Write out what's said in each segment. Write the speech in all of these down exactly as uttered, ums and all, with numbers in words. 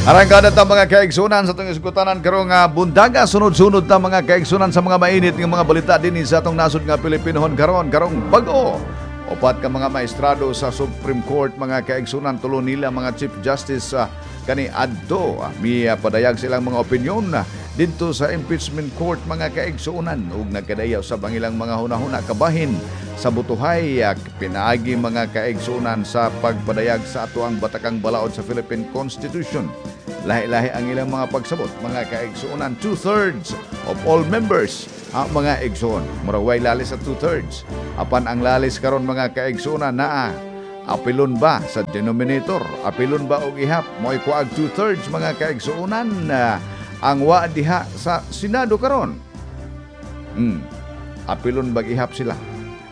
Arangkada ta, mga kaigsunan, sa atong isgutanan karong uh, buntaga. Sunod-sunod ta, mga kaigsunan, sa mga mainit nga mga balita dinhi sa atong nasod nga Pilipinohon karon karong bag-o. Upat ka mga maestrado sa Supreme Court, mga kaigsunan, tulo nila mga Chief Justice uh, kani adto uh, mi uh, padayag silang mga opinyon uh, didto sa impeachment court, mga kaigsunan, ug nagkadayaw sa ilang mga hunahuna kabahin sa butuhay uh, pinaagi, mga kaigsunan, sa pagpadayag sa ato ang batakang balaod sa Philippine Constitution. Lahi-lahi ang ilang mga pagsabot, mga kaigsuonan. Two-thirds of all members ang mga igsoon. Murag way lalis sa two-thirds. Apan ang lalis karon, mga kaigsuonan, naa apilon ba sa denominator? Apilon ba og ihap? Mo'y kuag two-thirds, mga kaigsuonan, uh, ang wa diha sa Senado karon. Hmm. Apilon bag ihap sila?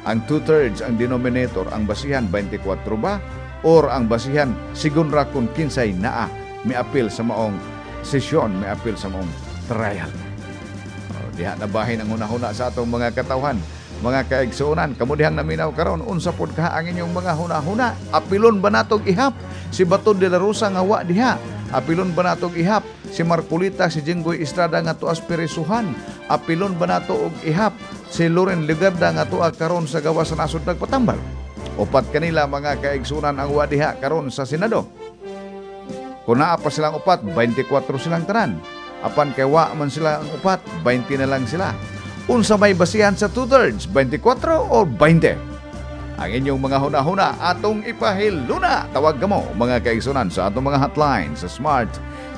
Ang two-thirds ang denominator, ang basihan twenty-four ba? Or ang basihan sigun ra kung kinsay naa miapil sa maong sesyon, miapil sa maong trial? Oh, diha na bahin ang hunahuna sa atong mga katawhan. Mga kaigsuonan, kamo dihang naminaw karon, unsa pod kaha ang inyong mga hunahuna? Apilon ba natog ihap si Bato de la Rosa nga wa diha? Apilon ba natog ihap si Marcoleta, si Jinggoy Estrada nga tuas pirisuhan? Apilon ba nato og ihap si Loren Legarda nga tuwa karon sa gawas sa nasod nagpatambal? Upat kanila, mga kaigsunan, ang wa diha karon sa Senado. Kung naa pa silang upat, twenty-four silang tanan. Apan kay wa man sila ang upat, twenty na lang sila. Unsa may basihan sa two-thirds, twenty-four o twenty? Ang inyong mga huna-huna atong ipahiluna. Tawag kamo, mga kaigsunan, sa atong mga hotline sa Smart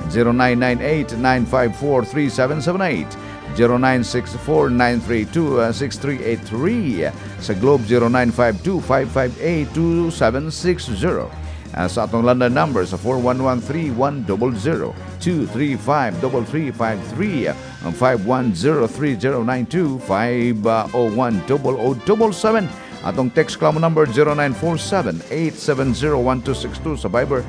zero nine nine eight, nine five four, three seven seven eight, zero nine six four, nine three two, six three eight three, sa Globe zero nine five two, five five eight, two seven six zero. Uh, sa atong London number sa four one one, three one zero zero, two three five, three three five three, ang five one zero, three zero nine two, five zero one, zero zero seven seven. Atong text Clamo number zero nine four seven, eight seven zero, one two six two, sa Viber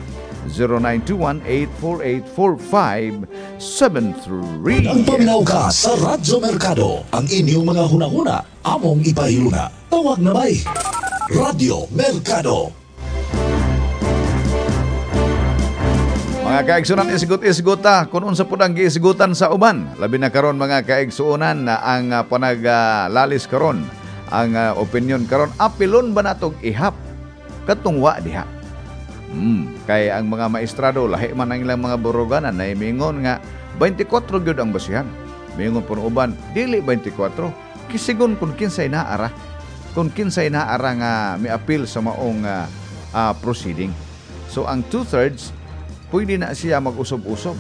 zero nine two one, eight four eight, four five seven three. Ang paminaw ka sa Radyo Mercado. Ang inyong mga hunahuna, among ipahiluna. Tawag na bay. Radyo Mercado. Mga kaigsunan, isgot-isgot ta kung unsa pud ang giisgutan sa uban. Labi na karon, mga kaigsuonan, na ang uh, panaglalis karon, ang uh, opinion karon, apilon ba natog ihap katong wa diha? Hmm, kay ang mga maestrado lahi man ang ilang mga buruganan na mingon nga twenty-four gyud ang basihan. Mingon pud uban dili twenty-four. Kisigon kung kinsay naara. Kung kinsay naara nga miapil sa maong uh, uh, proceeding. So ang two-thirds pwede na siya mag-usob-usob.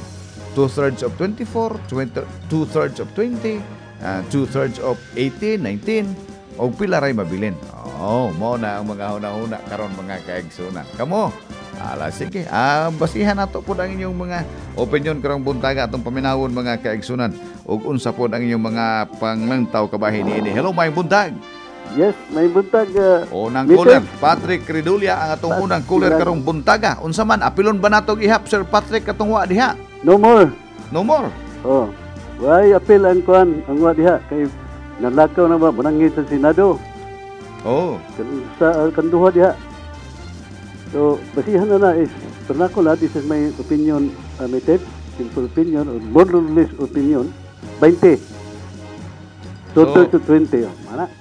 Two-thirds of twenty-four, twenty, two-thirds of twenty, uh, two-thirds of eighteen, nineteen, o pila ray mabilin. Oh, mo na ang mga huna-huna karon, mga kaigsunan. Kamo, ala sige, ah, basihan nato pud ang inyong mga opinion karong buntaga, atong paminawon, mga kaigsunan, ug unsa pud ang inyong mga panglantaw kabahin niini. Hello, may buntag. Yes, may buntag. Uh, Unang Mister caller, Patrick Ridulia ang atong unang caller karong buntaga. Unsa man, apilon ba natog ihap, Sir Patrick, katong wa diha? No more. No more. Oh. Why apil ang kuan ang wa diha kay nalakaw na ba manangit sa Senado. Oh. Kan sa uh, kanduha diha. So, basihan na na is vernacular, this is my opinion, uh, my tip, simple opinion or more or less opinion, twenty. Two So- thirds to twenty. Oh. Mana?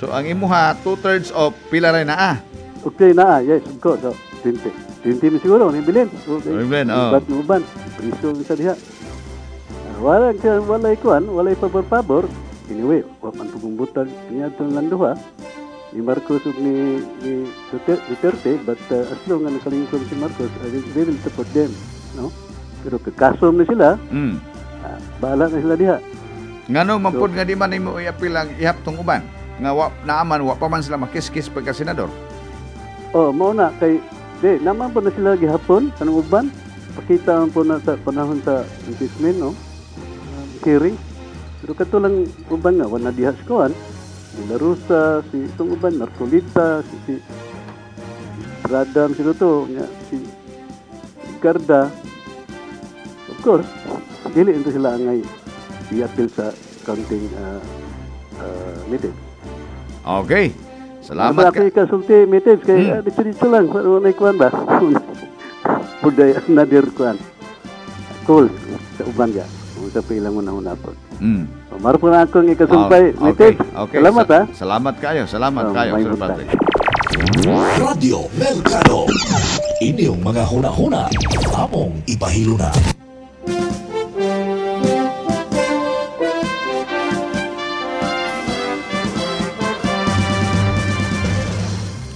So ang imuha two-thirds of pila ray naa? Okay na, ah, yes, of course. Oh, twenty. twenty mi siguro, ni bilin. Okay. Ni bilin, oh. Ubat uban, priso sa diha. Ah, wala siya, wala kuan, wala pabor-pabor. Anyway, wa man pugong butag niya lang duha ni Marcos ug ni, ni Duterte, Duterte, but uh, as long nga nakalingkod si Marcos, uh, they will support them, no? Pero kakasom na sila, Mm. ah, bahala na sila diha. Ngano man pud nga di man nimo iapil ang ihap tong uban? Nga wa naaman wa pa man sila makiskis pagka senador. Oh, mao na kay di naman po na sila gihapon kanang uban. Pakita man po na sa panahon sa impeachment, no? Um, hearing. Pero kato lang uban nga wala diha sa kuan. Si La Rosa, si itong uban Marcoleta, si si Radam sino to, nya, si Garda. Of course, dili ito sila angay i-appeal sa counting uh, uh, meeting. Okay. Salamat Salamat ka. ka. Kasulti meetings kay Hmm. hmm. dito dito lang wala kuan ba. Puday another kuan. cool sa uban ga. Kung sa ilang una-una po. Mm. So, maro po na akong ikasumpay. Ah, okay. Message. Okay. Salamat Sa- ha. Salamat kayo. Salamat Oh, kayo, may Sir buntag. Patrick. Radyo Mercado. Inyong mga huna-huna, among ipahiluna.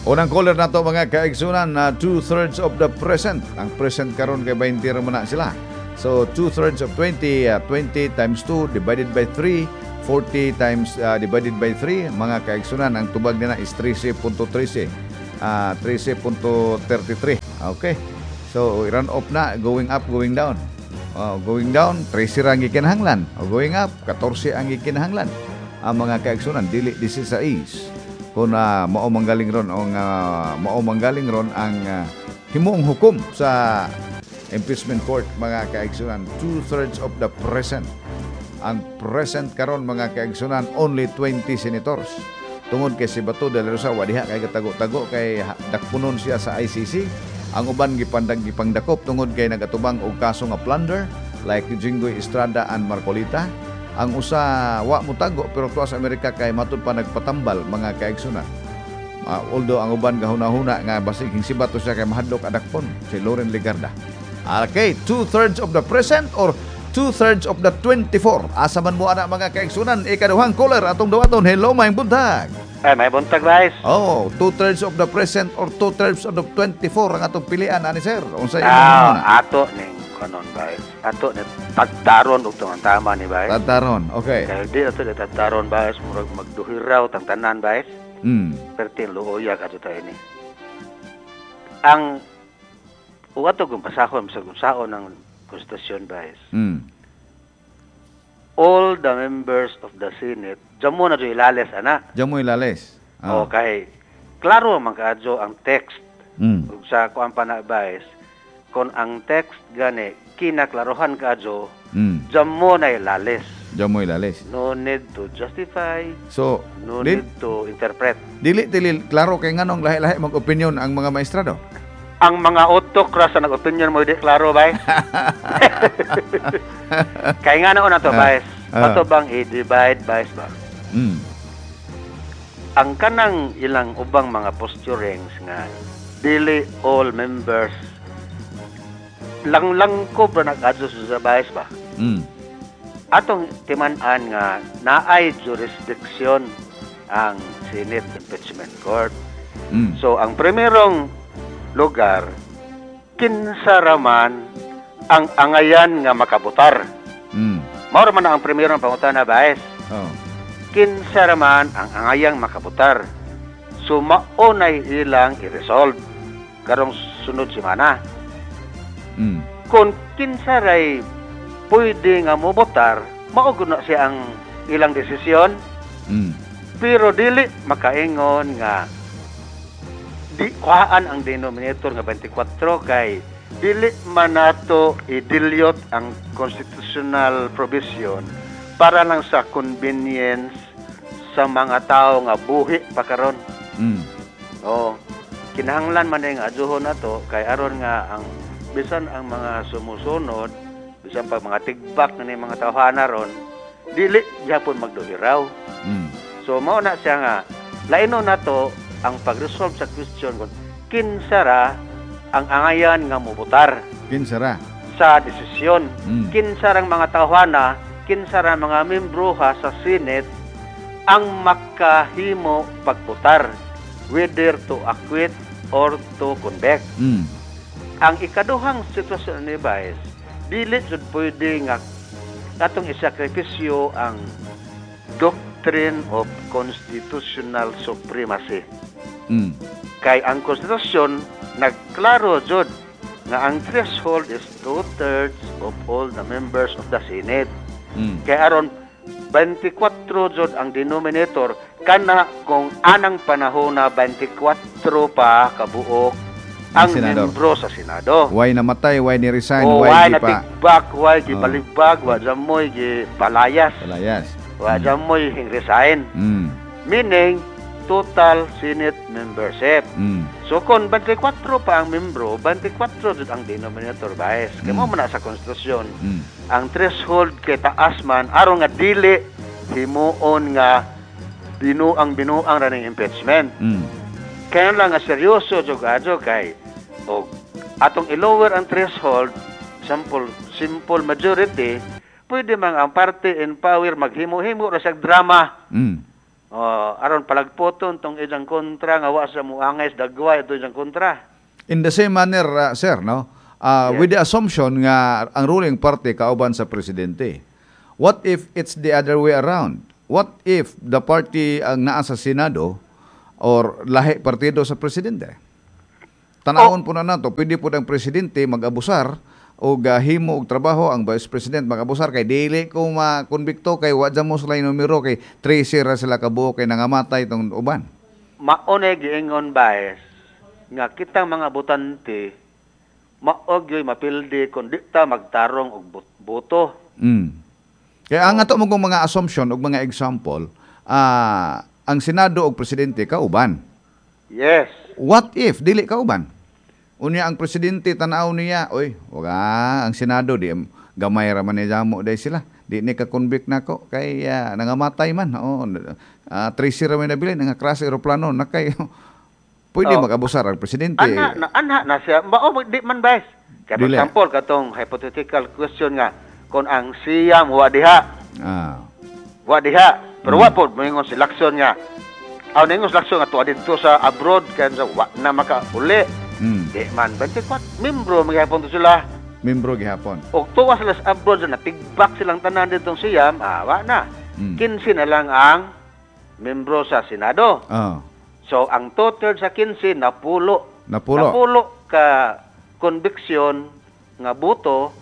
Unang caller na to mga kaigsunan na two-thirds of the present. Ang present karon kay twenty ra man na sila. So two-thirds of twenty, uh, twenty times two divided by three, forty times uh, divided by three, mga kaigsunan, ang tubag nila is thirteen point three. Uh, thirteen point thirty-three. Okay. So run off na, going up, going down. Uh, going down, thirteen ra ang gikinahanglan. O going up, fourteen ang gikinahanglan. Ang mga kaigsunan, dili sixteen. Kung uh, mao manggaling ron ang uh, mao manggaling ron ang uh, himuong hukom sa impeachment court mga kaigsunan, two-thirds of the present. Ang present karon mga kaigsunan only twenty senators. Tungod kay si Bato de la Rosa wa diha kay katago-tago kay dakpunon siya sa I C C. Ang uban gipandag gipangdakop tungod kay nagatubang og kaso nga plunder like Jinggoy Estrada and Marcolita. Ang usa wa motago pero tuwa sa Amerika kay matud pa nagpatambal mga kaigsunan. Uh, although ang uban gahuna-huna nga basig si Bato siya kay mahadlok adakpon si Loren Legarda. Okay, two-thirds of the present or two-thirds of the twenty-four. Asa man mo ana mga kaigsunan, ikaduhang caller atong dawaton. Hello, maayong buntag. Ay, may buntag, guys. Oh, two-thirds of the present or two-thirds of the twenty-four ang atong pilian ani sir. Unsa imong Ah, ato ning kanon, guys. Ato ni tagtaron og tong tama ni guys. Tagtaron, okay. Kay di ato ni tagtaron, guys, murag magduhiraw tang tanan, guys. Mm. Pertin luoya kadto ta ini. Ang ug ato kung pasahon sa unsaon ang konstitusyon, guys. Mm. All the members of the Senate, dyan mo na dyan ilales, ana. Dyan mo ilales. Ah. Okay. Klaro man kaadyo ang text. Mm. Ug sa kuan pa na, guys, kung ang text gani kinaklarohan kaadyo, mm. dyan mo na ilales. Dyan mo ilales. No need to justify. So, no di, need to interpret. Dili, dili, klaro kay nganong lahi-lahi mag-opinion ang mga maestrado. Ang mga autocrats na nag-opinion mo, di klaro, bay. Kaya nga naon na to, Ah, bay. ah. Ato bang i-divide, bay, ba? Mm. Ang kanang ilang ubang mga posturings nga dili all members lang-langkob ra nag-adjust sa bayas ba? Mm. Atong timan-an nga naay jurisdiction ang Senate Impeachment Court. Mm. So ang primerong lugar, kinsa raman ang angayan nga makabutar. Mm. Mao ra man ang primerong pangutana, bayas. Oh. Kinsa raman ang angayang makabutar. So mao nay ilang i-resolve karong sunod semana. Mm. Kung kinsa ray pwede nga mobotar, mao gud na siya ang ilang desisyon. Mm. Pero dili makaingon nga di kuhaan ang denominator nga twenty-four kay dili man nato i-dilute ang constitutional provision para lang sa convenience sa mga tao nga buhi pa karon. Mm. Oh, kinahanglan man nga adjuhon nato kay aron nga ang bisan ang mga sumusunod, bisan pa mga tigbak na ni mga tawhana ron, dili gyapon magduhiraw. Mm. So mao na siya nga laino nato ang pag-resolve sa question kung kinsa ra ang angayan nga mobotar Kinsa ra sa desisyon. Mm. Kinsa rang mga tawhana, kinsa ra mga membro ha sa Senate ang makahimo pagbotar whether to acquit or to convict. Mm. Ang ikaduhang sitwasyon ni Vice, dili jud pwede nga atong isakripisyo ang doctrine of constitutional supremacy. Mm. Kay ang konstitusyon nagklaro jud nga ang threshold is two-thirds of all the members of the Senate. Mm. Kay aron twenty-four jud ang denominator kana kung anang panahon na twenty-four pa kabuok ang Ang senador. membro sa Senado. Why namatay, why ni resign, O why why di pa natigbak, why Oh. gibaligbag, wa jamoy gipalayas, palayas. wa jamoy hing resign. Mm. Meaning total Senate membership. Mm. So kung twenty-four pa ang membro, twenty-four jud ang denominator bias. Kay Mm. mo man na sa konstitusyon. Mm. Ang threshold kay taas man aron nga dili himuon nga binuang binuang ra ning impeachment. Mm. Kaya lang nga seryoso jud adyo kay og atong i-lower ang threshold, simple simple majority, pwede man ang party in power maghimo-himo ra siyag drama. Mm. Oh, aron palagpoton tong ilang kontra nga wa sa muangay sa dagway ito ilang kontra. In the same manner, uh, sir, no? Uh, Yes. With the assumption nga ang ruling party kauban sa presidente. What if it's the other way around? What if the party ang naa sa Senado or lahi partido sa presidente? Tanawon po na nato, pwede po ang presidente mag-abusar o himo og trabaho ang vice president mag-abusar kay dili ko makonbikto kay wa mo sila yung numero kay thirteen ra sila kabuo kay nangamatay tong uban. Mao na giingon bias nga kitang mga botante mao gyoy mapildi kung di ta magtarong og but- boto. Mm. Kaya ang ato mo kong mga assumption og mga example, ah, ang Senado og presidente kauban. Yes. What if dili kauban? Unya ang presidente tan-aw niya, oy, wag ah, ang Senado di gamay ra man ni jamo day sila. Di ni ka-convict nako kay ah, nangamatay man. Oo, uh, thirteen ra may nabilin nga crash eroplano na kay pwede Oh. mag-abusar ang presidente. Ana na ana na siya mao di man bias. Kay for Dili. example katong hypothetical question nga kung ang siyam wa diha, Ah. wa diha. Pero wa pod moingon si Lacson nga aw ningon si Lacson nga tuwa didto sa abroad kay sa wa na makauli. Mm. Di man twenty-four membro magyapon to sila. Membro gihapon. Og tuwa sila sa abroad na tigbak silang tanan ditong siyam, ah, wa na. Mm. fifteen na lang ang membro sa Senado. Ah. So ang total sa fifteen napulo. Napulo. Napulo ka conviction nga boto,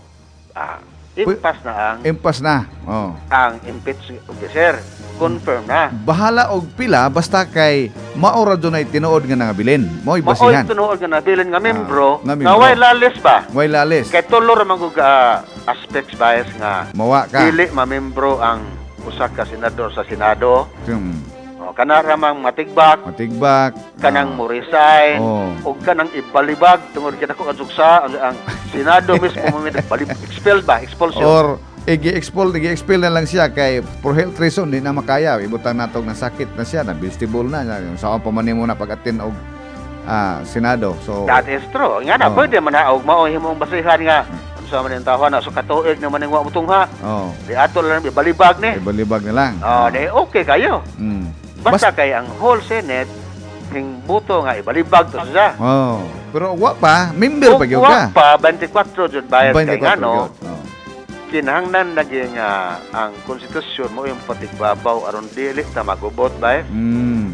ah, impas na ang Impas na. Oh. ang impeach officer. Confirm na. Bahala og pila basta kay mao ra dunay tinuod nga nangabilin. Mao'y Mao'y basihan. tinuod nga nabilin nga membro, Ah, nga nga membro. way lalis ba? Way lalis. Kay tulo ra man gud ah, aspects bias nga Mawa ka. dili mamembro ang usa ka senador sa Senado. Hmm. O, kana ra mang matigbak, Matigbak. kanang Ah. mo resign, Oh. o kanang ibalibag tungod kita ko sa ang, ang Senado mismo mo balib expel ba, expulsion. Or i-expel, i-expel na lang siya kay for health reason di na makaya. Ibutang natog na sakit na siya, na vegetable na. Sa pa man nimo na pag-attend og ah, Senado. So That is true. Nga na Oh. pwede man na og mao himong basihan nga unsa man yung tawo na so katuig naman ning wa mutungha. Oh, Di ato lang ibalibag ni. ibalibag na lang. Oh, di okay kayo. Mm. Basta kay ang whole Senate hing buto nga ibalibag to siya. Oh, pero wa pa, member pa gyud Wa ka. pa twenty-four jud bayad kay twenty-four ngano gyud. Oh. kinahanglan naging ah, ang konstitusyon mo yung patigbabaw aron dili ta magubot ba Mm.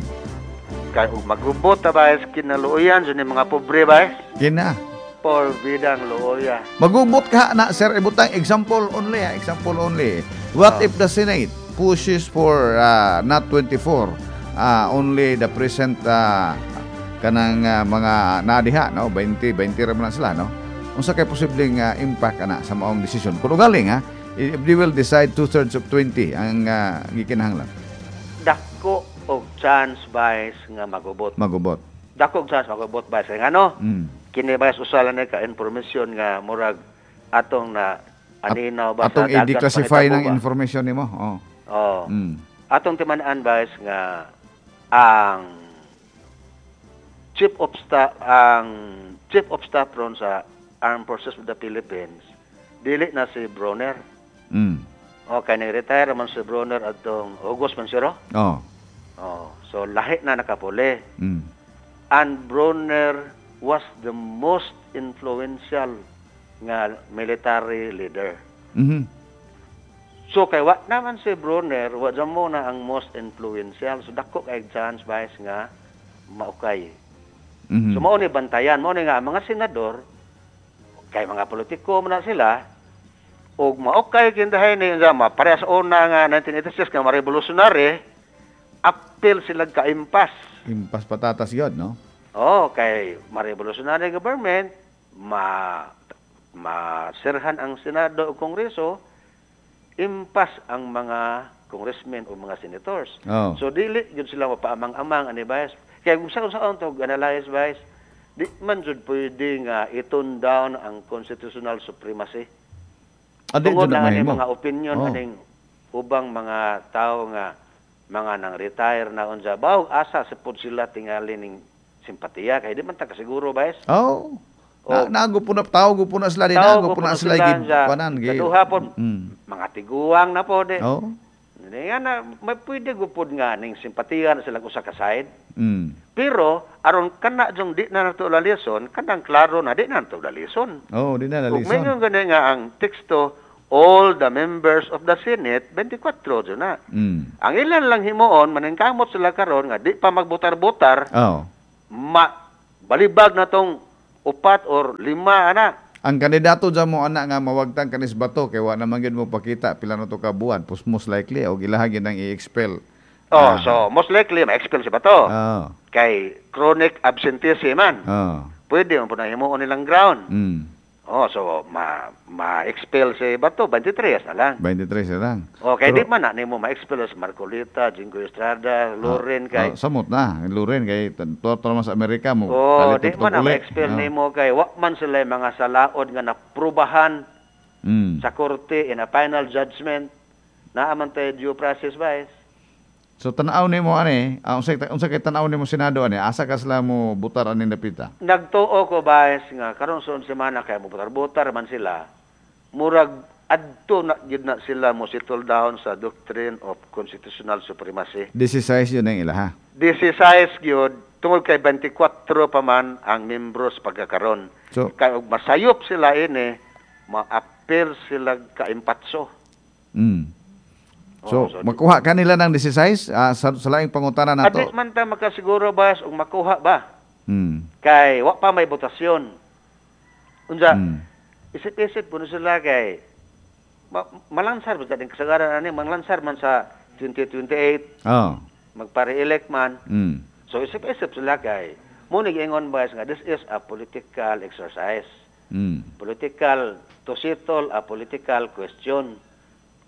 kay ug magubot ta ba kinaluoyan jud ni mga pobre ba. Kina. Por bidang luoya. Magubot ka na sir, ibutang example only, ha? Example only. What Oh. if the Senate pushes for uh, not twenty-four, uh, only the present uh, kanang uh, mga naadiha, no? twenty, twenty ra man na sila, no? Unsa kay posibleng uh, impact ana sa maong desisyon? Kung ugaling ha, if they will decide two-thirds of twenty ang uh, gikinahanglan, Dako og chance bias nga magubot. Magubot. Dako og chance magubot bias kay ngano Mm. kini bias usala ni ka information nga murag atong na aninaw ba Atong sa dagat i-declassify panghitabo ng ba? information nimo. Oh. Oh. Mm. Atong timan-an bias nga ang chief of staff ang chief of staff ron sa Armed Forces of the Philippines dili na si Bronner. Mm. Okay, nag-retire man si Bronner atong August man siro. Oh. Oh, so lahi na nakapuli. Mm. And Bronner was the most influential nga military leader. Mhm. So kay wa naman si Bronner, wa dyan mo na ang most influential. So dako kay chance bias nga maukay. Mhm. So mao ni bantayan, mao ni nga ang mga senador kay mga politiko man na sila og maukay kindahay ni nga maparehas una nga nineteen eighty-six nga ma-revolutionary apil sila kaimpas. Impas patatas yun, no? Oh, kay ma-revolutionary government, ma maserhan ang Senado o Kongreso, impas ang mga Congressmen o mga senators. Oh. So dili gyud sila mapaamang-amang ani, bias. Kaya kung sa unsaon to analyze, bias, di man jud pwede nga i-tone down ang constitutional supremacy. Ah, di Tungod jud na na ani mahimo. Mga opinion Oh. aning ubang mga tao nga mga nang retire na unsa baw asa sa pud sila tingali ning simpatiya kay di man ta kasiguro, bias. Oh. Oh. Na, nago po na tao po na sila di Tao nago po na sila sila gi sa kuanan gi. Kaduha pod, Mm. mga tiguang na po di. Oh. Hindi nga na, may pwede gupod nga ning simpatiya na sila usa ka side. Mm. Pero aron kana jong di na nato lalison, kanang klaro na di na nato lalison. Oh, di na Ug lalison. mingon gani nga ang teksto, all the members of the Senate, twenty-four jud na. Mm. Ang ilan lang himuon, maningkamot sila karon nga di pa magbutar-butar, Oh. ma balibag na tong upat or lima ana. Ang kandidato dyan mo ana nga mawagtang kanis Bato kay wa naman gyud mo pakita pila na to ka buwan, pus most likely og ilaha gyud ang i-expel. Oh, Ah. so most likely ma-expel si Bato. Oh. Kay chronic absenteeism man. Oh. Pwede man po na himuon nilang ground. Mm. Oh, so ma ma-expel si Bato twenty-three na lang. twenty-three na lang. Okay, Pero- di man na nimo ma-expel si Marcoleta, Jinggoy Estrada, Loren kay Oh, samot na, Loren kay tuwa man sa Amerika mo. Oh, kalit di man na uli. ma-expel Oh. nimo kay wa man sila mga salaod nga naprubahan Mm. sa korte in a final judgment. Naa man tay due process, bias. So tan-aw nimo ani, ah, unsa unsa kay tan-aw nimo Senado ani, asa ka sila mo butar ani napita? Nagtuo ko, bias, nga karon sa semana kay mobutar-butar man sila. Murag adto na gyud na sila mo settle down sa doctrine of constitutional supremacy. This is yun ang ilaha. This is gyud tungod kay twenty-four pa man ang membros pagkakaron. So Kay og masayop sila ini, ma-appeal sila kaimpatso. mm. So, Oh, so makuha kanila ng sixteen ah, sa, sa laing pangutana nato. Adi man ta makasiguro, bas, og makuha ba? Mm. Kay wa pa may botasyon. Unsa, Mm. isip-isip puno sila kay ma- malansar ba sa din kasagaran ani, manglansar man sa twenty twenty-eight, Oh. magpa-re-elect man. Mm. So isip-isip sila kay mo ingon, bas, nga this is a political exercise. Mm. Political to settle a political question.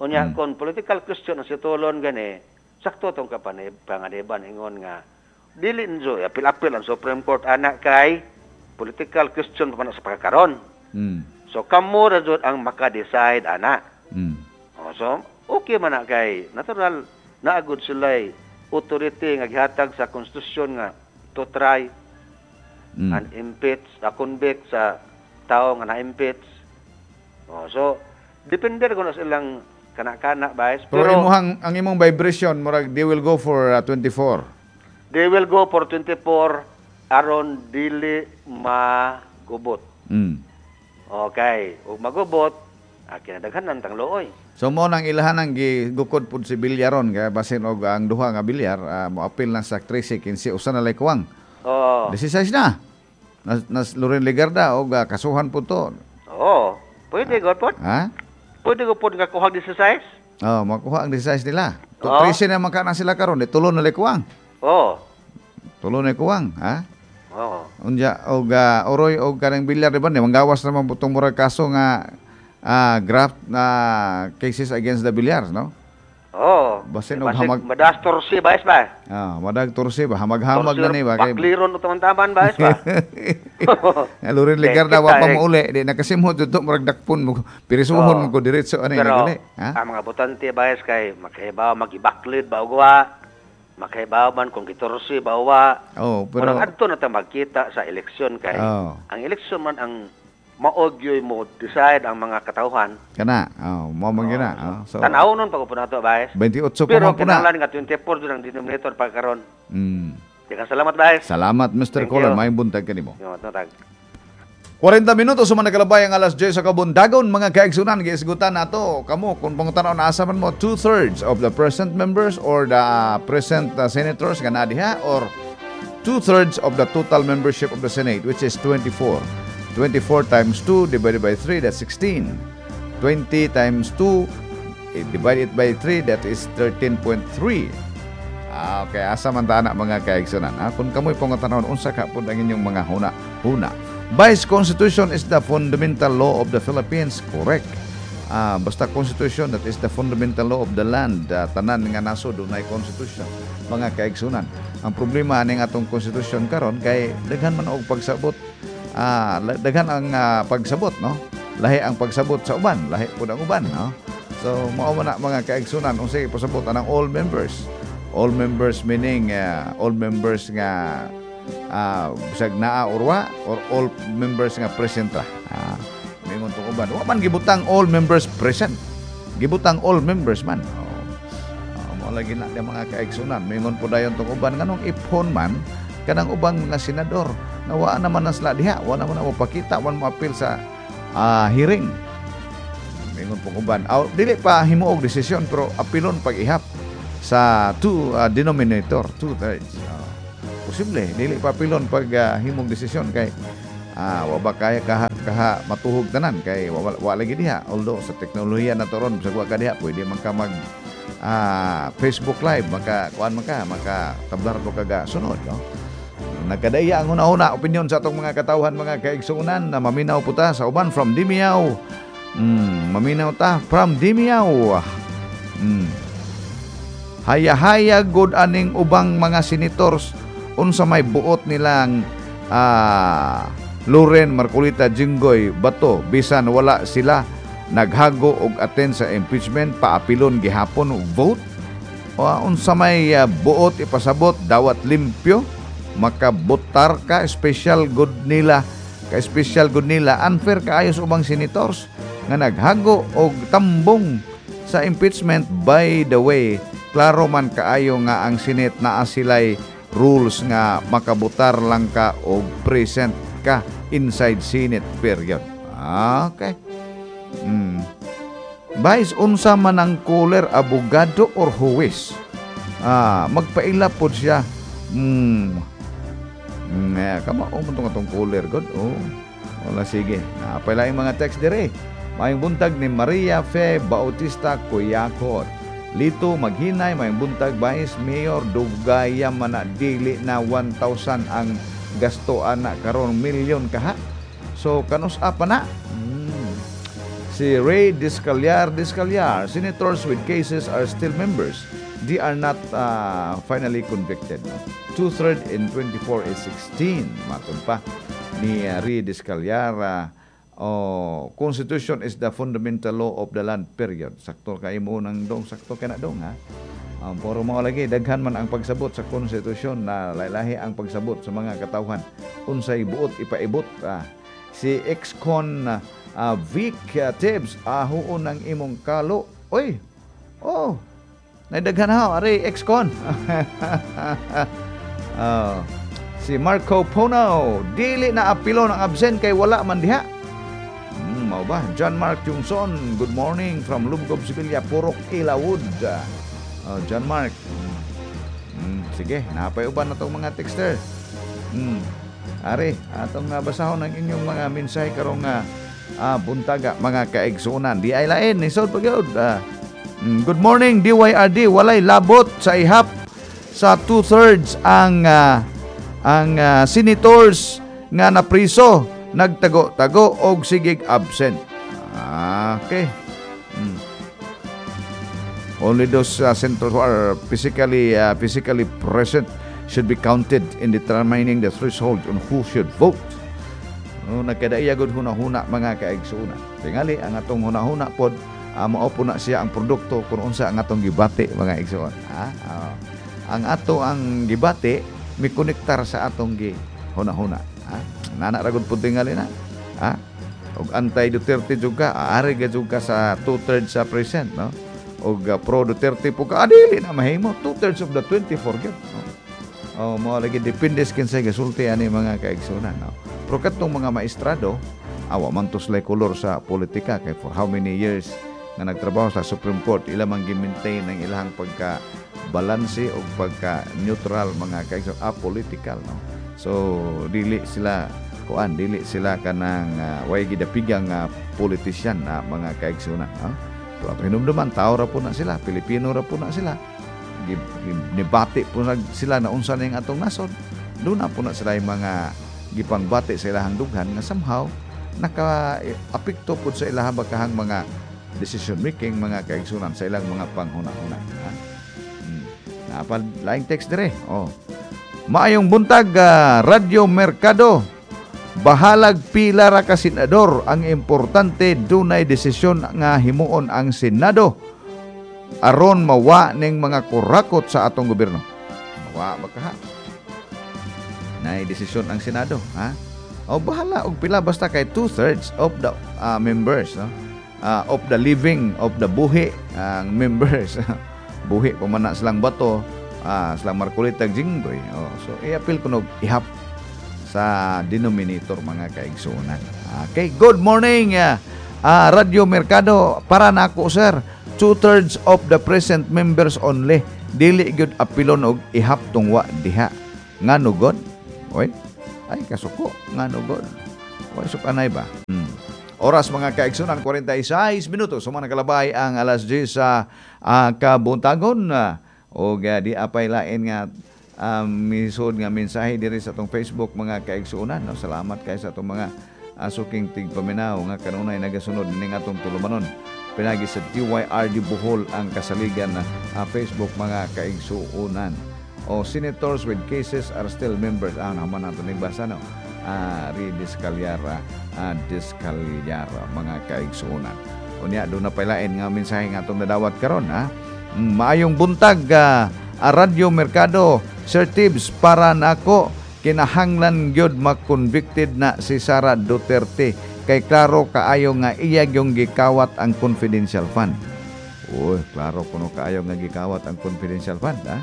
Unya Mm. kon political question ang situlon gani, sakto tong kapanib panganiban ingon nga dili njo apil-apil ang Supreme Court ana kay political question pa man sa pagkakaron. Mm. So kamo ra jud ang maka-decide ana. Mm. O, so okay man na kay natural naagod sila authority nga gihatag sa konstitusyon nga to try Mm. and impeach, a convict sa tao nga na-impeach. Oh, so depende ra kuno sa ilang kana-kana, bias. Pero, Pero, imuhang ang imong vibration murag they will go for uh, twenty-four. They will go for twenty-four aron dili magubot. Mm. Okay, ug magubot, ah, kinadaghanan tang looy. So mo nang ilahan ang gigukod pud si Villar ron kay basin og ang duha nga Villar uh, moapil na sa thirteen fifteen usa na lay kuwang. Oh. sixteen na. Nas, nas Loren Legarda og uh, kasuhan pud to. Oo. Pwede god pod. Ha? Pwede ko pod nga kuhag sixteen. Oh, makuha ang sixteen nila. To Oo. thirteen na man ka na sila karon, di tulo na lay kuwang. Oo. Tulo na kuwang, ha? Oo. Unya og uh, Oroy og kanang Villar di ba ni manggawas naman butong murag kaso nga ah, graft na cases against the Villars, no? Oo. Basin og Basig hamag- Madas torsi ba ba? Ah, madag torsi ba hamag-hamag na ni ba kay Bakliron o taman-taman ba ba? Loren Legarda wa pa Kita, eh. mouli, di nakasimhot dito murag dakpon mo pirisuhon Oo. mo ko diretso ani Pero naguli, ha? ang mga botante ba kay makahibaw magibaklid ba og wa? Makahibaw man kung gitorsi ba o wa? Oh, pero Pero adto na ta magkita sa eleksyon kay Oo. ang eleksyon man ang maogyoy mo decide ang mga katawhan. Kana, oh, mo man gina. Oh, so Tanaw nun pag nato, bias. twenty-eight pa Pero man po na. kinahanglan nga twenty-four jud ang denominator pagkaron. Mm. Daghang salamat, bias. Salamat, Mister Thank Colon, you. maayong buntag kanimo. Yo, tag. forty minutos sa nakalabay ang alas diyes sa kabundagon, mga kaigsunan, giisgutan nato kamo kung pangutanaw na asa man mo, two-thirds of the present members or the uh, present uh, senators nga naa diha or two-thirds of the total membership of the Senate, which is twenty-four. twenty-four times two divided by three, that's sixteen. twenty times two eh, divided by three, that is thirteen point three. Ah, okay, asa man ta na, mga kaigsunan? Ah, kung kamoy pangutanawon, unsa ka pud ang inyong mga huna huna. Vice Constitution is the fundamental law of the Philippines, correct. Ah, basta constitution, that is the fundamental law of the land. Ah, tanan nga nasod dunay constitution, mga kaigsunan. Ang problema aning atong constitution karon kay daghan man og pagsabot. Ah, la- daghan ang ah, pagsabot, no? Lahi ang pagsabot sa uban, lahi pud ang uban, no? So mao man na, mga kaigsunan, unsay pasabot anang all members. All members meaning ah, all members nga ah bisag naa or wa, or all members nga present ra. Ah, mingon tong uban. Wa man gibutang all members present. Gibutang all members man. Oh. Oh, mao lagi na di mga kaigsunan. Mingon po dayon tong uban, nganong iphon man kanang ubang mga senador na wa naman na sila diha, wa naman na mopakita, wa mo apil sa ah, hearing. Mingon pong uban. Aw, dili pa himuog desisyon pero apilon pag-ihap sa two ah, denominator, two thirds. Ah, posible dili pa apilon pag ah, himog desisyon kay ah, wa ba kaya kaha, kaha matuhog tanan kay wa, wa, wa lagi diha. Although sa teknolohiya na to ron, bisag wa ka diha, pwede man ka mag ah, Facebook Live, maka kuan man ka, maka tablar ko kaga sunod, no? Nagkadaya ang una-una opinion sa atong mga katawhan, mga kaigsuonan, na maminaw po ta sa uban from Dimiyaw. Mm, maminaw ta from Dimiyaw. Mm. Haya-haya good aning ubang mga senators, unsa may buot nilang ah, Loren, Marcoleta, Jinggoy, Bato, bisan wala sila naghago og attend sa impeachment, paapilon gihapon og vote? O unsa may ah, buot ipasabot, dawat limpyo makabotar ka, special good nila ka, special good nila. Unfair kaayo sa ubang senators nga naghago og tambong sa impeachment. By the way, klaro man kaayo nga ang Senate naa sila'y rules nga makabotar lang ka og present ka inside Senate, period. Okay. Mm. Vice, unsa man ang caller, abogado or huwes? Ah, magpaila pod siya. Mm. Mm, eh, kama oh, man tong atong caller god. Oh. Wala, sige. Napay laing mga text dire. Maayong buntag ni Maria Fe Bautista Kuyakot. Lito Maghinay, maayong buntag, Vice Mayor. Dugaya man na, dili na one thousand ang gasto ana karon, milyon kaha. So kanus pa na? Mm. Si Ray Discaliar Discaliar, senators with cases are still members. They are not uh, finally convicted. No? Two-thirds in twenty-four is sixteen. Matun pa ni uh, Ray Discaliar. Uh, oh, Constitution is the fundamental law of the land, period. Sakto kay mo nang dong, sakto kay na dong ha. Um, puro mo lagi daghan man ang pagsabot sa konstitusyon na laylahi ang pagsabot sa mga katawhan. Unsay buot ipaibot ah. Si ex-con uh, Vic uh, Tibbs, ahuon ang imong kalo. Oy. Oh. Naidaghan ha, ari ex-con. Oh. Si Marco Pono, dili na apilo ng absent kay wala man diha. Hmm, mao ba? John Mark Jungson, good morning from Lumgob, Sevilla, Purok Ilawod. Oh, John Mark. Hmm, sige, napay uban na tong mga texter. Hmm. Ari, atong uh, basahon ang inyong mga mensahe karong uh, ah, buntaga, mga kaigsuonan. Di ay lain, nisod pa gyud. Ah, mm, good morning D Y R D, walay labot sa ihap sa two-thirds ang ah, ang ah, senators nga napriso, nagtago-tago og sigig absent. Ah, okay. Mm. Only those uh, senators who are physically uh, physically present should be counted in determining the threshold on who should vote. No, nagkadaiya gud huna-huna, mga kaigsuonan. Tingali ang atong huna-huna pod uh, mao po na siya ang produkto kung unsa ang atong gibati, mga igsuon. Ha? Ah, ang ato ang gibati mikonektar sa atong gi huna-huna. Ha? Nana ra gud pud tingali na. Ha? Og anti Duterte jud ka, aari ga jud ka sa two-thirds sa present, no? Og uh, pro Duterte po ka, ah, dili na mahimo. Two-thirds of the twenty-four gyud, no? Oh, mo lagi depende sa kinsay gasulti ani, mga kaigsuonan, no? Pero katong mga maestrado, awa man to sila'y kolor sa politika kay for how many years nga nagtrabaho sa Supreme Court, ila man gi-maintain ang ilahang pagka balanse o pagka neutral, mga kaigsuonan, apolitical, no? So dili sila kuan, dili sila kanang uh, way gidapigang uh, politician na, mga kaigsuonan, no? Pero ato hinumduman, tao ra po na sila, Pilipino ra po na sila. Gi- gi- Nibati po na sila na unsa na yung atong nasod. Doon na po na sila yung mga gipangbati sa ilahang dughan nga somehow naka-apekto po sa ilahang bakahang mga decision making, mga kaigsunan, sa ilang mga panghuna-huna, ha? Hmm. Napal laing text dire. Oh. Maayong buntag, ah, Radyo Merkado. Bahalag pila ra ka senador, ang importante dunay desisyon nga himuon ang Senado aron mawa ning mga kurakot sa atong gobyerno. Mawa ba kaha? Nay desisyon ang Senado, ha? O bahala og pila, basta kay two-thirds of the ah, members, no? Ah, of the living, of the buhi ang members. Buhi pa man na silang Bato, ah, silang Marcoleta, Jinggoy. Oh, so i-appeal kuno ihap sa denominator, mga kaigsunan. Okay, good morning, ah, ah, Radyo Merkado. Para nako, sir, two-thirds of the present members only. Dili gyud apilon og ihap tungwa diha. Ngano god? Oy, ay kasuko, ngano god? Oy, sukanay ba? Hmm. Oras, mga kaigsunan, kuwarenta y sais minuto. Sumana kalabay ang alas diyes sa uh, kabuntagon. Uh, o uh, di apay lain nga um, misod nga mensahe diri sa atong Facebook, mga kaigsuonan. No? Salamat kay sa atong mga uh, suking tigpaminaw nga kanunay nagasunod ning atong tulumanon. Pinagi sa D Y R D Bohol ang kasaligan na uh, Facebook, mga kaigsuonan. O senators with cases are still members. Ah, naman nato ning basa, no. Ah, Ridiscalyara, ah, Discalyara, mga kaigsuonan. Unya do na pailain nga mensahe nga atong nadawat karon, ha. Maayong buntag, uh, Radyo Merkado. Sir Tibbs, para nako kinahanglan gyud ma-convicted na si Sara Duterte kay klaro kaayo nga iya yung gikawat ang confidential fund. Uy, klaro kuno kaayo nga gikawat ang confidential fund, ha?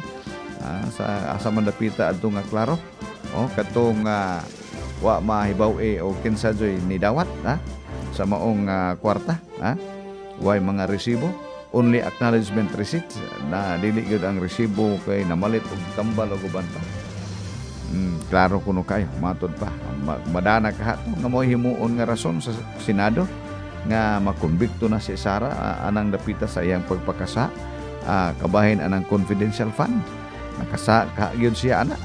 Ah, sa asa man dapita adto nga klaro? Oh, katong uh, wa mahibaw eh o kinsa joy ni dawat, ha? Sa maong uh, kwarta, ha? Way mga resibo, only acknowledgement receipt na dili gyud ang resibo kay namalit og tambal og uban pa. Mm, klaro kuno kayo, matod pa. Madana ka to nga mo himuon nga rason sa Senado nga makumbikto na si Sara uh, anang dapita sa iyang pagpakasa uh, kabahin anang confidential fund. Nakasa ka gyud siya ana.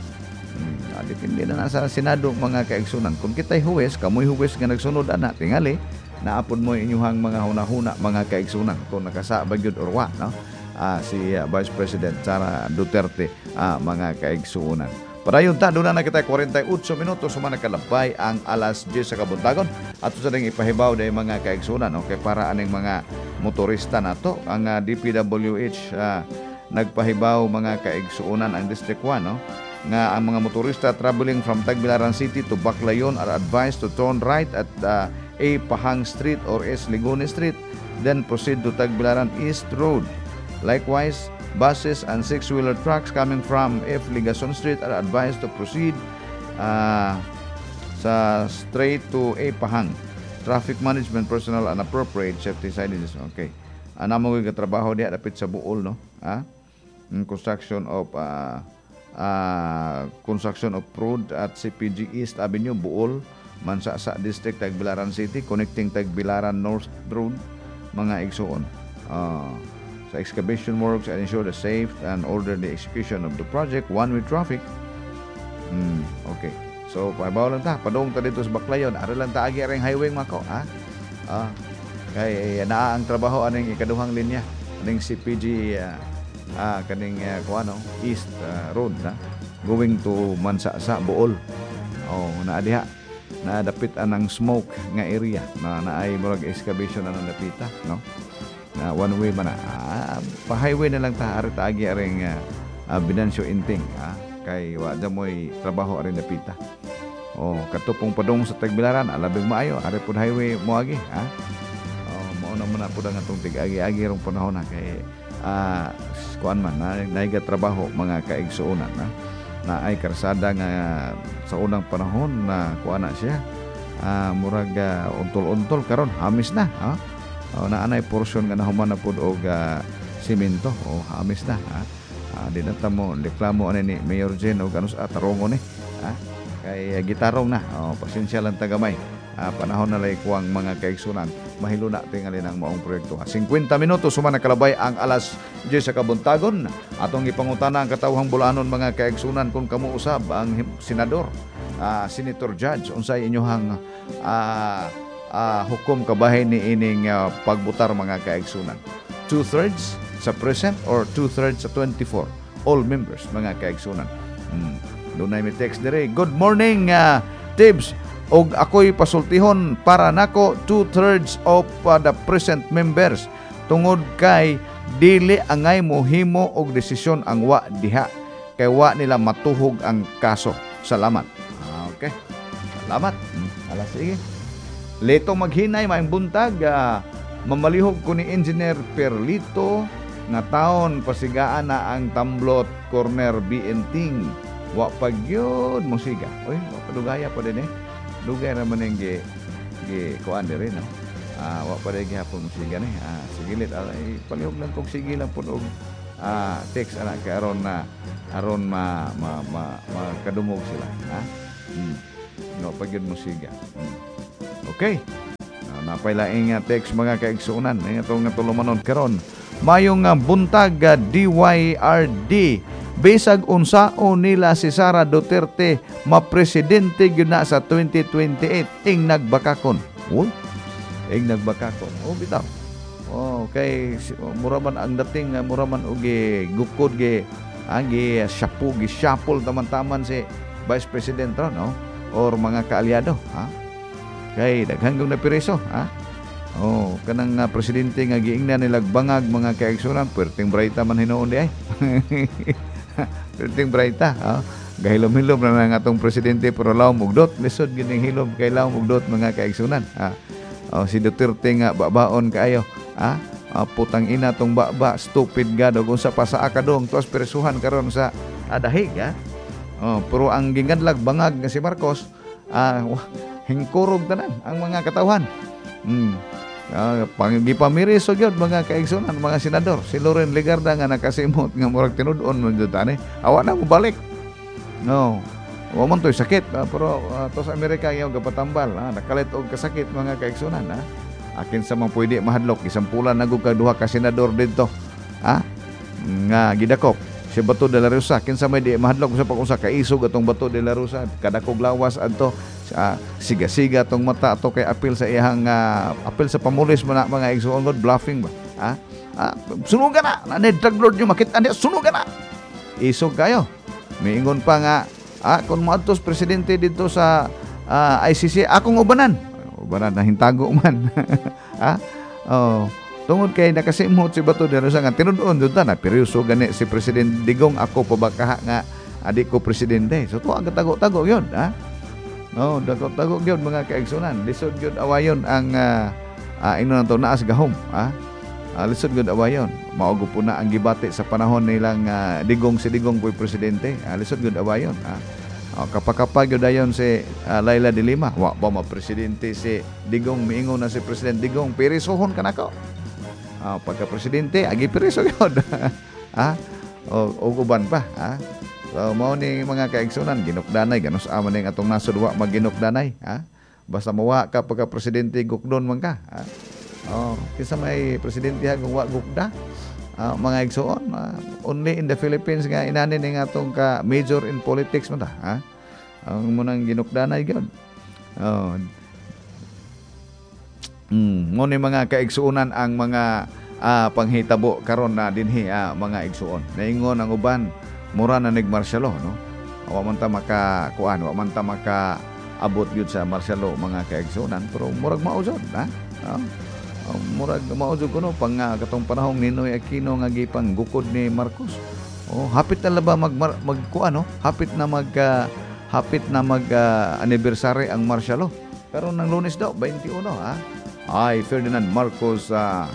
Hmm, ah, depende na na sa Senado, mga kaigsunan. Kung kita'y huwes, kamoy huwes nga nagsunod ana, tingali, naapod mo inyuhang mga hunahuna, mga kaigsunan, kung nakasa ba gyud or wa, no? Ah, si ah, Vice President Sara Duterte, ah, mga kaigsunan. Padayon ta, doon na kita kuwarenta y otso minuto sumana kalabay ang alas diyes sa kabuntagon. Ato sa ding ipahibaw dahil, mga kaigsunan, okay, para aning mga motorista nato ang ah, D P W H ah, nagpahibaw, mga kaigsuonan, ang District one, no, nga ang mga motorista traveling from Tagbilaran City to Baclayon are advised to turn right at uh, A. Pahang Street or S. Ligone Street, then proceed to Tagbilaran East Road. Likewise, buses and six-wheeler trucks coming from F. Ligason Street are advised to proceed uh, sa straight to A. Pahang. Traffic management personnel and appropriate safety signages. Okay. Ana mo trabaho diha dapit sa Buol, no? Ha? Mm, Construction of uh, uh, construction of road at C P G East Avenue, Buol, Mansasa District, Tagbilaran City, connecting Tagbilaran North Road, mga igsuon. Uh, sa excavation works and ensure the safe and orderly execution of the project, one-way traffic. Mm, okay. So, pahibaw lang ta. Padung ta dito sa Baclayon. Ari lang ta agi aring highway mako, ha? Ah, kay naa ang trabaho aning ikaduhang linya aning C P G ah, ah, kaning uh, kuano East ah, Road na going to Mansasa, Buol. Oh, naa diha na dapit anang smoke nga area na naay murag excavation anang dapita, no, na one way man na. Ah, pa highway na lang ta, ari ta agi aring uh, uh, Venancio Inting, ah, kay wa mo'y trabaho aring dapita. Oh, katupong padung sa Tagbilaran, alabing maayo, ari pud highway moagi, ha? Oh, mao na muna pud ang atong tig-agi-agi rong panahon na kay ah kuan man na naiga trabaho, mga kaigsuonan, na na ay karsada nga sa unang panahon na kuan na siya, ah, murag ah, untol-untol, karon hamis na, ha? Oh, na anay portion nga nahuman na pud og ah, simento o hamis na, ha? Ah, di na ta mo reklamo ani ni Mayor Jen og ano sa tarongo ni, ha, kay uh, gitarong na. Oh, pasensya lang tagamay. Ah, panahon na lay kuwang, mga kaigsunan, mahiluna tingali ng maong proyekto. singkwenta minuto sumana kalabay ang alas diyes sa kabuntagon. Atong ipangutana ang katawhang Bulanon, mga kaigsunan, kung kamo usab ang him- senador, ah, senator judge, unsay inyohang ah, uh, hukom kabahin ni ining uh, pagbutar, mga kaigsunan? Two-thirds sa present or two-thirds sa twenty-four all members, mga kaigsunan hmm. Dunay mi text dire. "Good morning, uh, Tibbs, og ako'y pasultihon, para nako two-thirds of uh, the present members tungod kay dili angay mohimo og desisyon ang wa diha kay wa nila matuhog ang kaso. Salamat." Ah, okay. Salamat. Hmm. Ala, sige. Leto Maghinay, maayong buntag. Uh, mamalihog ko ni Engineer Perlito nga taon pasigaan na ang Tamblot Corner B N Ting. Wa pa gyud musiga. Uy, wa pa, dugaya pa din eh. Dugay ra man ning gi gi kuan diri, no. Ah, wa pa rin gihapon musiga ni. Ah, sige lit, ah, palihog lang kog sige lang pud og ah, text ana kay aron na aron ma ma ma makadungog sila, ha? Hmm. No pa gyud musiga. Hmm. Okay. Uh, napay laing uh, text, mga kaigsuonan, nga atong nga tulumanon karon. "Mayong uh, buntag, uh, D Y R D. Bisag unsao nila si Sara Duterte, mapresidente gyud na sa twenty twenty-eight ing nagbakakon." Uy, ing nagbakakon. Oh, bitaw. Oh, kay mura man ang dating, mura man og gukod gi ang gi shapu gi shuffle taman-taman si Vice President ron, no? Or mga kaalyado, ha? Kay daghan kong napireso, ha? Oh, kanang uh, presidente nga giingnan nila bangag, mga kaigsunan, perting brighta man hinuon di ay. Perting brighta, ha? Gahilom-hilom na nga atong presidente pero lawom ugdot, lisod gyud ning hilom kay lawom ugdot, mga kaigsunan, ha? Oh, si Duterte nga babaon kaayo, ha? Uh, putang ina tong baba, stupid god ug unsa pa sa akadong tuas presuhan karon sa adahig, ha? Oh, pero ang gingadlag bangag nga si Marcos, ah, hingkurog tanan ang mga katawhan. Mm. Uh, pang gipamiriso gyud, mga kaigsunan, mga senador. Si Loren Legarda nga nakasimot nga murag tinud-on man jud ani. Awa na mo balik. No. Wa man to'y sakit, uh, pero uh, to sa Amerika yung gapatambal, ah, nakalit og kasakit, mga kaigsunan, ha. Akin sa mga pwede mahadlok, gisampulan na ka duha ka senador didto. Ha? Nga gidakop si Bato de la Rosa, kinsa may di mahadlok sa pag-usa kaisog atong Bato de la Rosa, kadakog lawas adto, uh, siga-siga tong mata ato kay apil sa iyang uh, apil sa pamulis man na, mga igsoon, god bluffing ba, ha? Ah, sunugan na na drug lord nyo, makita niya, sunugan na, isog kayo. Miingon pa nga, ah, kung moadtos presidente dito sa uh, I C C, akong ubanan ubanan na hintago man, ha? Oh, tungod kay nakasimot si Bato de la Rosa nga tinud-on jud ta na peryoso gani si President Digong, ako pa ba kaha nga adi ko presidente. So tuwa tago-tago yun, ha? Oh, tago-tago gyud, mga kaigsunan. Lisod gyud awayon ang uh, uh, ino to naas gahom, ha? Uh, lisod gyud awayon. Mao po na ang gibati sa panahon nilang uh, Digong, si Digong po'y presidente. Uh, lisod gyud awayon, ha? Oh, kapakapag gyud dayon si uh, Leila de Lima. Wa ba ma presidente si Digong, miingon na si President Digong, "Pirisuhon ka nako." Uh, pagka presidente, agi piriso gyud. Ha? O, og uban pa, ha? So mao ni, mga kaigsunan, ginukdanay ganus ama ning atong nasod wa maginukdanay, ha? Basta mawa ka pagka presidente, gukdon man ka, ha? Oh, kinsa may presidente ha kung wa gukda? Uh, mga igsoon, uh, only in the Philippines nga inani ning atong ka major in politics man ta, ha? Ang munang ginukdanay gyud. Oh. Mm, mo ni, mga kaigsuonan, ang mga uh, panghitabo karon na dinhi, uh, mga igsuon. Naingon ang uban mura na nig martial law, no? Wa man ta maka kuan, wa man ta maka abot gyud sa martial law, mga kaigsuonan, pero murag mao jud, ha? Oh. Uh, murag mao jud kuno pang uh, katong panahong Ninoy Aquino nga gipang gukod ni Marcos. Oh, hapit na ba mag mag kuan, no? Hapit na mag uh, hapit na mag uh, anniversary ang martial law. Pero nang Lunes daw twenty-one, ha. I, Ferdinand Marcos, uh,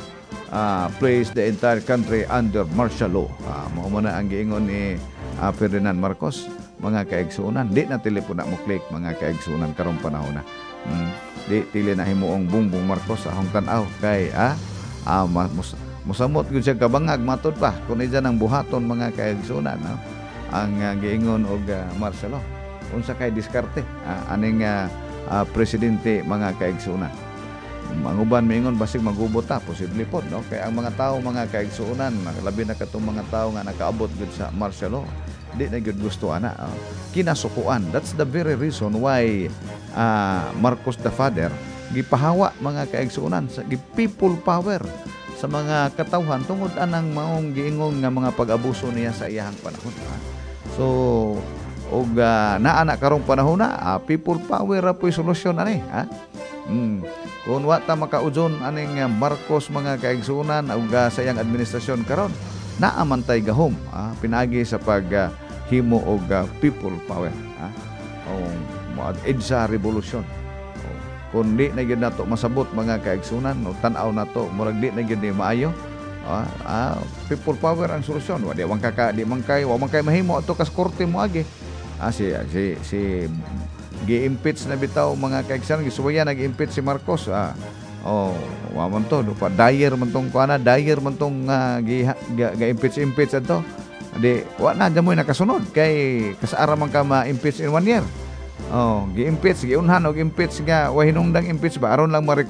uh, place the entire country under martial law. Uh, mao man na ang giingon ni uh, Ferdinand Marcos, mga kaigsuonan. Di na telepono mo click, mga kaigsuonan, karong panahon na. Mm, di tili na himuong Bongbong Marcos sa akong tan-aw kay ah, ah mus, musamot gyud siya kabangag matod pa kun diyan ang buhaton, mga kaigsuonan, no? Ang uh, giingon og uh, martial law. Unsa kay diskarte uh, aning uh, uh, presidente, mga kaigsuonan? Ang uban miingon basig magubot ta, posible pod, no? Kay ang mga tao, mga kaigsuonan, labi na katong mga tao nga nakaabot gud sa martial law, di na gyud gusto ana, oh. Kinasukuan. That's the very reason why uh, Marcos the father Gipahawa, mga kaigsuonan, sa gi people power sa mga katawhan tungod anang maong giingon nga mga pag-abuso niya sa iyahang panahon, ha? So og uh, naa na karong panahon na, ah, people power ra po'y solusyon ani, ha. Mm. Kung wa ta makaudson aning uh, Marcos, mga kaigsuonan, ug uh, sa iyang administrasyon karon, naa man tay gahom, ah, pinaagi sa pag uh, himo og uh, people power, ha. O mo EDSA revolution. O, kung di na gyud nato masabot, mga kaigsunan, o tan-aw nato murag di na gyud ni maayo, ah, ah, people power ang solusyon. Wa di man ka di man kay wa man kay mahimo ato kas korte mo agi. Ah, si si si gi-impeach na bitaw, mga kaigsunan, gisuwayan nag-impeach si Marcos, ah. Oh, wa man to, pa dayer man tong kuana, dayer man tong uh, gi, ga, ga-impeach impeach adto. Di wa na dyan mo nakasunod kay kasaara man ka ma-impeach in one year. Oh, gi-impeach, giunhan og impeach nga wa hinungdang impeach ba, aron lang ma